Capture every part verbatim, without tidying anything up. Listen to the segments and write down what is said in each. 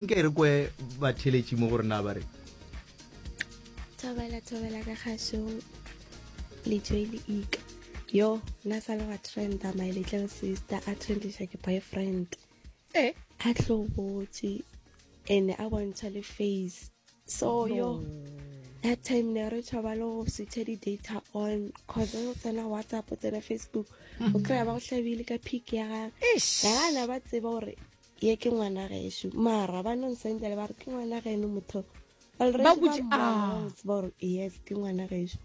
Nke re kwe batheletši mo gore na ba re. Thobela, thobela ka kgašong le Joy le Ika. Yo, nna sa le wa trenda, my little sister a trendiša ke boyfriend. Eh. A hlobotše ene a bontšha le face. So yo, that time ne re tšhaba le go switcha di-data on, cause o tsena WhatsApp, o tsena Facebook, o kry-a ba go hlabile ka pic ya gage. Gana ba tseba gore ye ke ngwana gešo, mara ba no nsendela ba re ke ngwana geno motho. Already Ba ba botše- mmona, ah. ba tseba gore yes ke ngwana gešo.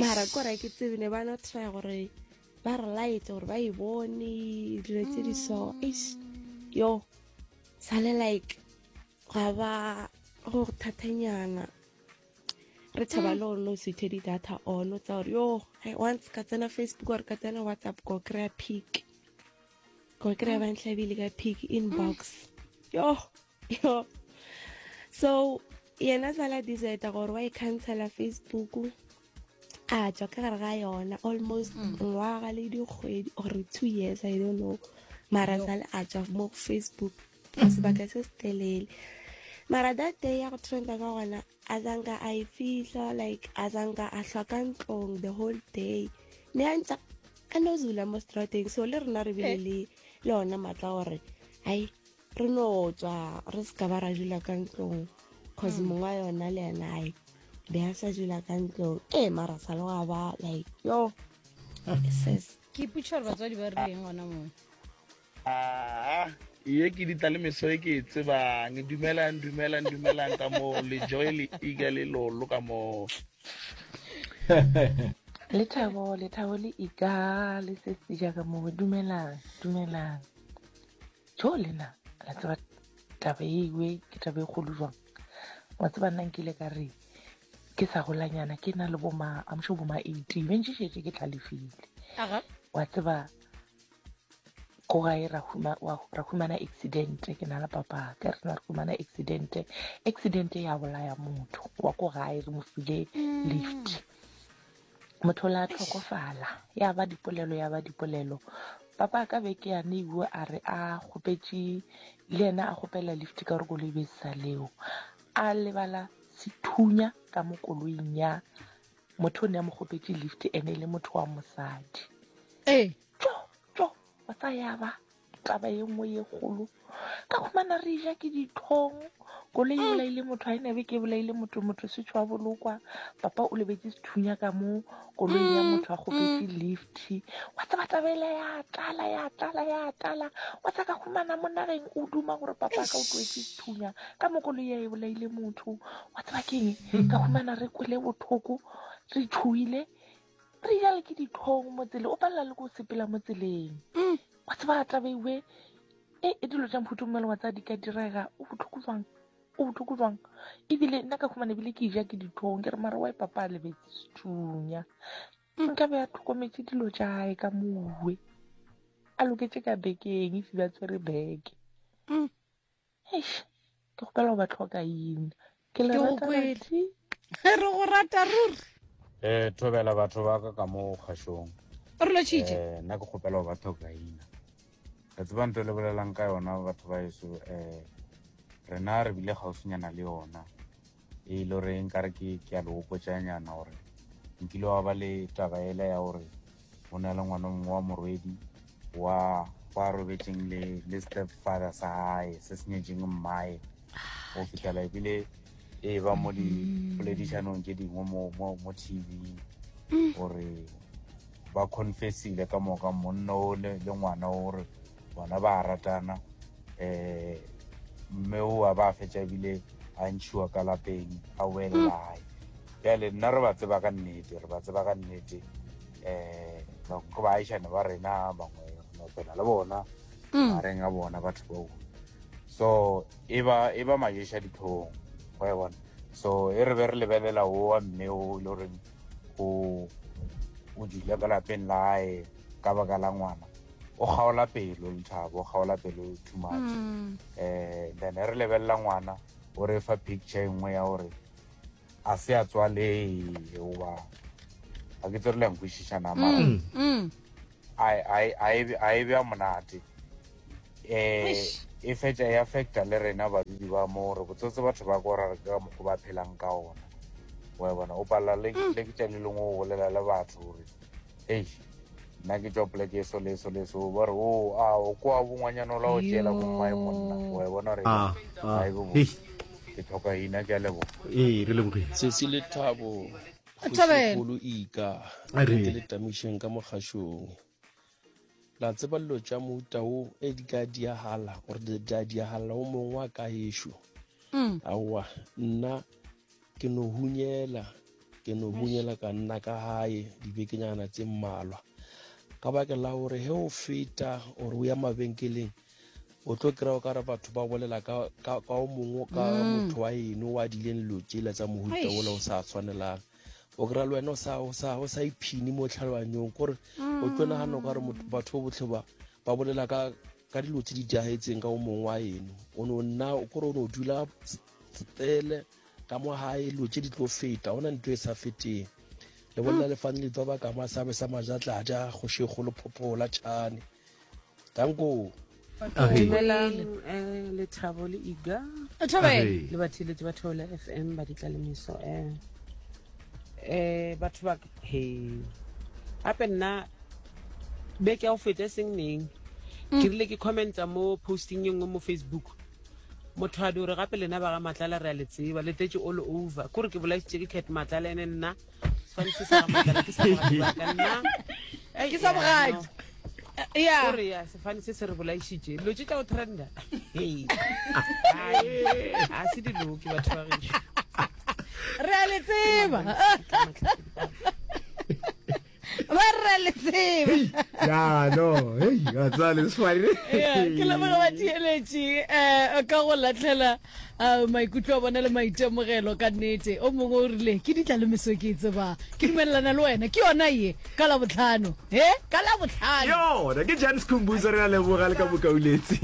Mara kore ke tsebe ne ba no try gore ba re laetse gore ba e bone dilo tse di so. Eish, yo sale like ga ba go thatanyana. Re tshaba le go no switche di-data on, o tsa gore yo, ai, once ka tsena Facebook or ka tsena WhatsApp ko kry-a pic, ko kry-a ba ntlhabile ka pic inbox. Yo, yo. So yena sala decide gore wa e cancela Facebook, a tswa ka gare ga yona almost ngwaga le dikgwedi or two years, I don't know. Mara sale a tswa mo go Facebook for sebaka se se telele. Mara that day ya go trenda ka gona, a zanka a e fihla, like a zanka a hlwa ka ntlong the whole day, ne a ntse a no zula mo strateng. So le rena re bile le le ona maatla gore ai re no tswa re se ka ba ra dula ka ntlong, cause mongwe wa yona le yena ai be a sa dula ka ntlong. Ee, mara sa le gwa ba like yo sis. Ke ipotšiša gore batswadi ba rileng gona moo. Ah, ye ke ditla le meso e ke e tsebang. Dumelang, dumelang, dumelang ka moo le Joy le Ika le Lolo ka moo. Lethabo, Lethabo le Ika le sesi jaaka moo. Dumelang, dumelang. Jo lena, la tseba taba e iwe ke taba e kgolo jwang. Wa tseba nna nkile ka re ke sa golanyana ke na le bo ma, I'm sure bo ma eighteen, be ntše šetše ke tlhalefile. Aga. Wa tseba ko gae ra huma-, wa, ra humana accident, ke na le papa ka re na re humana accident, accident ya bolaya motho wa ko gae, re mo file Mm. lift. Motho la tlhokofala, ya ba dipolelo, ya ba dipolelo. Papa ka beke ya ne bua a re a kgopetše le yena a kgopela lift ka gore koloi be sa leo. A lebala sethunya ka mo koloing ya motho o ne a mo kgopetše lift, ene e le motho wa mosadi. Ee. Tjo, tjo, wa tsa ya ba taba ye nngwe ye kgolo. Ka khumana re ja ke ditlhong, koloi e Mm. bolaile motho, ha e nabe ke bolaile motho, motho se tšhwa bolokwa. Papa o lebetse sethunya ka mo koloing ya Mm, motho a kgopetše mm. lift. Wa tseba taba ela ya tlala, ya tlala, ya tlala. Wa tsa ka khumana mo nageng o duma gore papa ka o tloetse sethunya ka mo koloi ya e bolaile motho. Wa tseba keng? Ka khumana re kwele bothoko, re tšhoile, re ja le ke ditlhong mo tseleng, o palela le ko sepela mo tseleng. Mm. Wa tseba taba ewe, e, e dilo tša mohuta o mongwe le wa tseba di ka direga, o bohloko jwang? O bohloko jwang? Ebile nna ka khumana ebile ke ja ke ditlhong, ke re mara wa papa a lebetse sethunya. Mm. Nka be a tlhokometse dilo tša hae ka mowe. A loketše ka bekeng, if ba tshwere beke. Mm. Eish, ke kgopela go ba tlhoka ina. Ke le Ke go rata kwele. bathi. Re go rata ruri. Eh, thobela batho ba ka ka mo kgašong. Re lotšhitše. Eh, nna ke kgopela go ba tlhoka ina. Re tseba ntho e le bolelang ka yona batho ba heso, eh, rena re bile kgauswinyana le yona. E le gore nkare ke, ke a le gopotšanyana gore nkile wa ba le taba ela ya gore go na le ngwana mongwe wa morwedi wa, wa robetšeng le, le stepfather sa hae se se nyetšeng mmae go fihlela ebile e ba mo dipoledišanong tše dingwe mo, mo, mo T V gore ba confessile ka moka monna o le, le ngwana o gore bona ba ratana. Eh, mme o a ba fetša ebile a ntšhiwa ka lapeng a boela gae. Bjale nna re ba tseba ka nnete, re ba tseba ka nnete. Eh, bangwe ke baagišane ba rena, bangwe re no phela le bona Mm. magareng a bona batho bao. So e ba, e ba maješa ditlhong, wa e bona. So e re be re lebelela o wa mme o e le goreng o, o dula ka lapeng la hae ka baka la ngwana, o kgaola pelo Lethabo, o kgaola pelo too much. Mm. Eh, then re lebelela ngwana o re fa picture e nngwe ya gore a se a tswaleye goba ga ke tsere le ya nkwešišana, mara Mm, mm. a, a, a e, a e bea monate. Eh, Eish. E fetša e affecta le rena badudi ba mo gore botsotse batho ba ko ra ka mokgwa ba phelang ka ona. Wa e bona o palela le le ke tša le lengwe o bolela le batho gore ei nna ke tšwa poleke e so le so le so ba re o a o kwa bongwanyana ola o tšeela bommae monna wa e bona gore Ah, ah. ga e be Hei. botse. Ke tlhoka ina ke a leboga. Ee, re lebogile. Sesi Lethabo Thabela. kgošikgolo Ika A re. ke le tamišeng ka mogašong la tseba dilo tša mohuta wo e di ka diagala gore di di a diagala o mongwe wa ka ešo Mm. aowa nna ke no hunyela ke no hunyela ka nna ka gae dibekenyana tse mmalwa ka baka la gore he o feta ore o ya mabenkeleng o tlo kry-a o kare batho ba bolela ka ka- ka o mongwe ka Mm. motho wa eno o adileng dilo tsela tsa mohuta Eish. ola o sa tshwanelang o kry-a le wena o sa- o sa o sa iphine mo tlhaloganyong kore o tlo nagana o kare motho- batho ba botlhe ba ba bolela ka ka dilo tse di diagetseng ka o mongwe wa eno o no nna kore o no dula stele ka mo gae dilo tse di tlo feta ona ntho e sa feteng le bolela lefane le tswa ba ka masabe sa majatladi kgošikgolo phophola tšhane danko Dumelang eh, Lethabo le Iga Thobela. le batheeletši ba Theola F M ba ditlalemiso eh eh batho ba he gape nna beke ya go feta e seng neng ke rile ke commenta mo posting e nngwe mo Facebook motho a di gore gape lena ba ga Matlala re a le tseba le tletše all over kore ke bolaisitše ke Cat Matlala ene nna sefane se sa ga Matlala ke sa bogadi ba ka nna Ei, Ke sa ya, bogadi. no. Ya. Kore ya sefane se se re bolaišitše dilo tše tša go trenda Hei. Ai, a se diloke batho ba gešo Re a le tseba. Ba re a le tseba. Ya no, hei, wa tseba le sefane. Yeah, ke leboga batheeletši um ka go latlhela uh, maikutlo a bona le maitemogelo ka nnete o mongwe o rile ke ditlalemeso ke e tsebang ke dumelelana le wena ke yona ye ka labotlhano he ka labotlhano Yona ke Jan Skhumbuzo re a leboga le ka bokauletse.